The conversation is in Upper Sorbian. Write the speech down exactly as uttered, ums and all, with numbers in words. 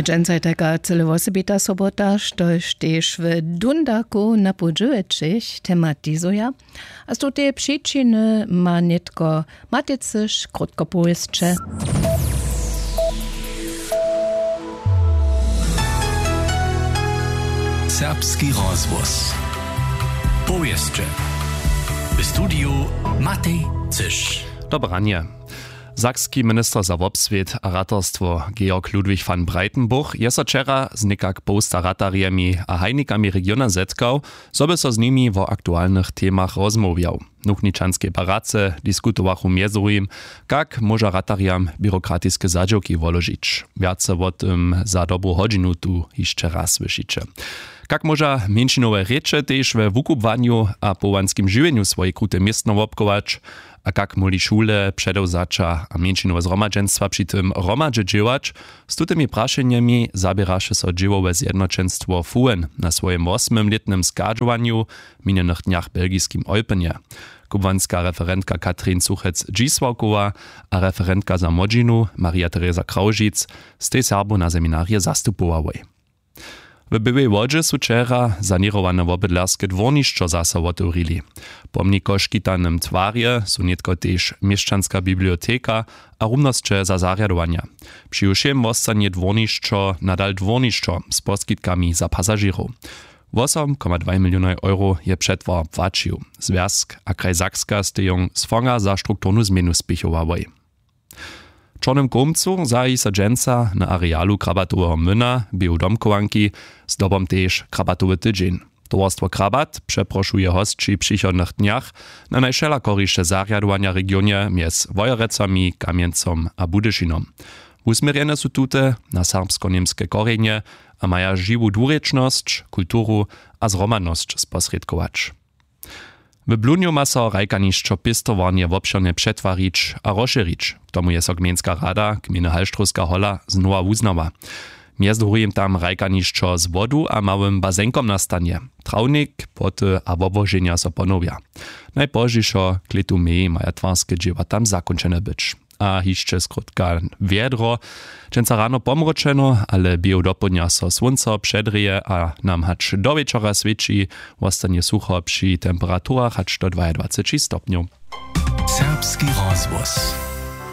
Dźensa je tajka cyle wosebita sobota, štož tež w dundaku na poł dźewjećich tematizuja. A z tutej přičiny ma nětko Matej Cyš krótko powěsće. Serbski rozhłos. Powěsće. W studiju Matej Cyš. Dobre ranje. Sakski minister za wobswět a ratarstwo Georg Ludwig van Breitenburg je so wčera z někak połsta ratarjemi a hajnikami regiona zetkał, zo by so z nimi wo aktualnych temach rozmołwjał. W nuchničanskej paradce diskutowachu mjez druhim, kak móža ratarjam běrokratiske zadźěłki woložić. Wjace wo tym za dobru hodźinu tu hišće raz słyšiće. Kak móža mjeńšinowe rěče tež we wukubłanju a powołanskim žiwjenju swoje krute městno wobchować, a kak móhli šule, předewzaća a mjeńšinowe zhromadźenstwa při tym hromadźe dźěłać? Z tutymi prašenjemi zaběraše so dźěłowe zjednoćenstwo fuen na swojim wosmymlětnym schadźowanju w minjenych dnjach w belgiskim Eupenje. Kubłanska referentka Katrin Suchec-Dźisławkowa a referentka za młodźinu Maria Teresa Kraužic stej Serbow na seminarje zastupowałoj. W Běłej Wodźe su wčera saněrowane wobydlerske dwórnišćo zaso wotewrili. Pomnik w škitanym twarje su nětko tež měšćanska biblioteka a rumnosće za zarjadowanja. Přiwšěm wostanje dwórnišćo nadal dwórnišćo z poskitkami za pasažěrow. Wosom koma dwaj milionow euro je přetwar płaćił. Zwjazk a kraj Sakska stej jón z fonga za strukturnu změnu spěchowałoj. W Čornym Kołmcu zahaji so dźensa na arealu Krabatoweho młyna, běhu domchowanki, zdobom tež Krabatowy tydźeń. Towarstwo Krabat přeprošuje hosći w přichodnych dnjach na najwšelakoriše zarjadowanja w regionje mjez Wojerecami, Kamjencom a Budyšinom. Wusměrjene su tute na serbsko-němske korjenje a maja žiwu dwurěčnosć, kulturu a zhromadnosć sposrědkować. W Blunju ma so hrajkanišćo pěstowarnje wobšěrnje přetwarić a rozšěrić. K tomu je so gmejnska rada gmejny Halštrowska hola znowa wuznała. Mjez druhim tam hrajkanišćo z wodu a małym bazenkom nastanje. Trawnik, płoty a wobłoženja so ponowja. Najpozdźišo k lětu mej maja twarske dźěła tam zakónčene być. A hišće skrótka wjedro. Dźensa rano pomročeno, ale běhu dopołdnja so słónco předrěje a nam hač do wječora swěći. Wostanje sucho při temperaturach hač do dwajadwaceći stopnjow. Serbski rozhłos.